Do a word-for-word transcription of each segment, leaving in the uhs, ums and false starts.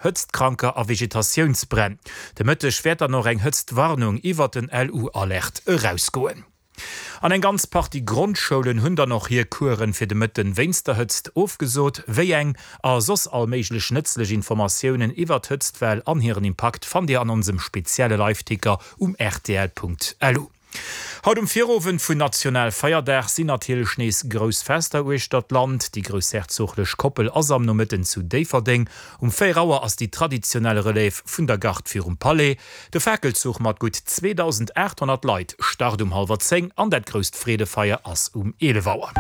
Hëtztkranker a Vegetatiounsbränn. De Mëtteg wäert dann och eng Hëtztwarnung iwwert den LU-Alert erausgoen. An eng ganz Partie Grondschoulen hunn dann och hir Coursen fir de Mëtten wéinst der Hëtzt ofgesot. Wéi eng a soss all méiglech nëtzlech Informatiounen iwwert d'Hëtztwell an hiren Impakt fannt Dir an onsem spezielle Liveticker um rtl.lu. Haut um Virowend vun Nationalfeierdag sinn natierlech nees grouss Fester uechter d'Land. Déi groussherzoglech Koppel ass am Nomëtten zu Déifferdeng. Um véier Auer ass déi traditionell Relève vun der Garde virum Palais. De Fakelzuch mat gutt zweedausendaathonnert Leit start um hallwer zéng an dat grousst Freedefeier ass um eelef Auer.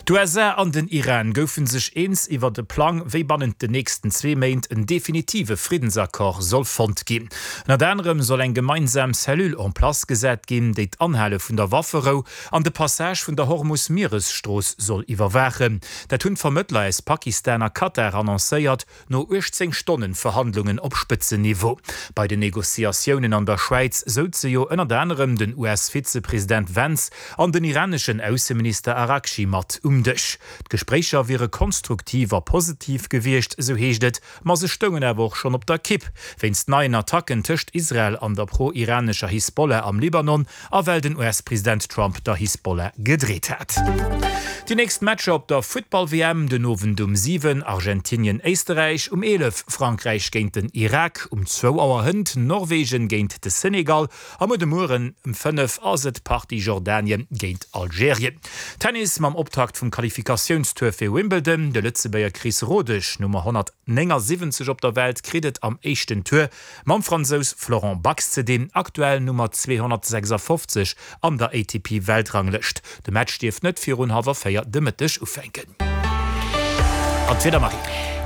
D'USA an den Iran goufe sech eens iwwert e Plang, wéi bannent den nächsten zwee Méint en definitive Friddensaccord soll fonnt ginn. Ënnert anerem soll eng gemeinsam Cellule en place gesat ginn, déi d'Anhale vun der Wafferou an de Passage vun der Hormus-Mieresstrooss soll iwwerwaachen. Dat hunn d'Vermëttler aus Pakistan a Katar annoncéiert, no uechtzéng Stonnen Verhandlungen op Spëtzenniveau. Bei den Negociatiounen an der Schwäiz souze jo ënnert anerem den U S-Vizepresident Vance an den iraneschen Ausseminister Araghchi mat um Dësch. D'Gespréicher wiere konstruktiv a positiv gewiescht, esou heescht et, ma se stoungen awer och schonn op der Kipp wéinst neien Attacken tëscht Israel an der pro-iranescher Hisbollah am Libanon a well den U S-President Trump der Hisbollah gedreet hat. Déi nächst Matcher op der Futtball-W M, den Owend um siwen Argentinien-Éisterräich, um eelef Frankräich géint den Irak, um zwou Auer hënt Norwegen géint de Senegal a muer de Mueren um fënnef ass et d'Partie Jordanien géint Algerien. Tennis mam Optakt vum Qualifikatiounstour fir Wimbledon, De Lëtzebuerger Chris Rodesch, Nummer honnertnéngasiwwenzeg op der Welt, kritt et am éischten Tour mam Fransous Florent Bax ze dinn, aktuell Nummer zweehonnertsechsafofzeg an der A T P-Weltranglëscht. De Match dierft net virun hallwer véier de Mëtteg ufänken. An d'Wieder, Marie.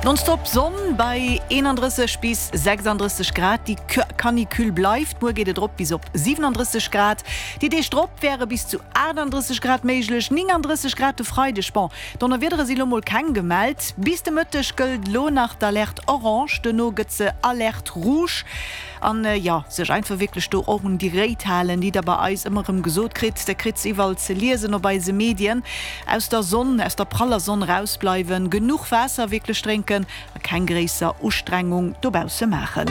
Nonstop Sonn bei eenandrësseg bis sechsandrësseg Grad, déi Canicule bleift. Muer geet et erop bis op siwenandrësseg Grad. Déi Deeg drop wäre bis zu achtandrësseg Grad méiglech, néngandrësseg Grad de Freideg. Bon, Donnerwiedere si lo mol keng gemellt. Bis de Mëtteg gëllt lo nach d'Alerte orange, duerno gëtt se Alerte rouge. An jo, sech einfach wierklech do och un déi Réit halen, déi der bei eis ëmmer erëm gesot kritt. Der kritt se iwwerall ze liesen op eise Medien. Aus der Sonn, aus der praller Sonn rausbleiwen, genuch Waasser wierklech drénken a keng gréisser Ustrengung dobausse maachen.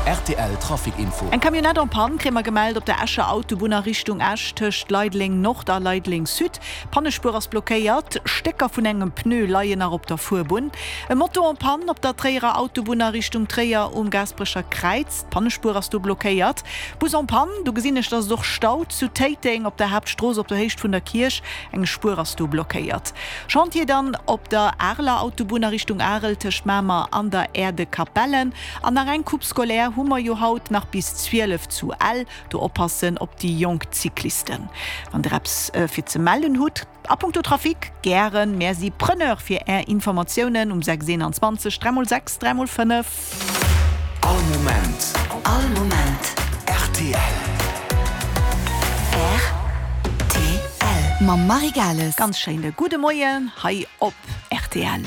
R T L Trafic Info. Eng Camionnette en panne kréie mer gemellt op der Escher Autobunn a Richtung Esch tëscht Leideleng Nord a Leideleng Sud. D'Pannespuer ass blockéiert, Stécker vun engem Pneu leien nach op der Fuerbunn. E Moto en panne op der Tréierer Autobunn a Richtung Tréier um Gaasperecher Kräiz, d'Pannespuer ass do blockéiert. Bus en panne, do gesinn ech dass et och staut zu Téiteng op der Haaptstrooss op der Héicht vun der Kierch, eng Spuer ass do blockéiert. Chantier dann op der Areler Autobunn a Richtung Arel tëscht Mamer an der Aire de Capellen. An nach eng Coupe scolaire hu mer jo haut nach bis zwielef zu Ell, do oppassen op déi jonk Cyclisten. Wann der eppes fir ze mellen hutt a punkto Trafic, gären, mär si Preneur fir är Informatiounen um sechs eenanzwanzeg dräi mol sechs dräi mol fënnef. All Moment. All Moment. R T L. R T L. Mam Marie Gales. Ganz schéine gudde Moien hei op R T L.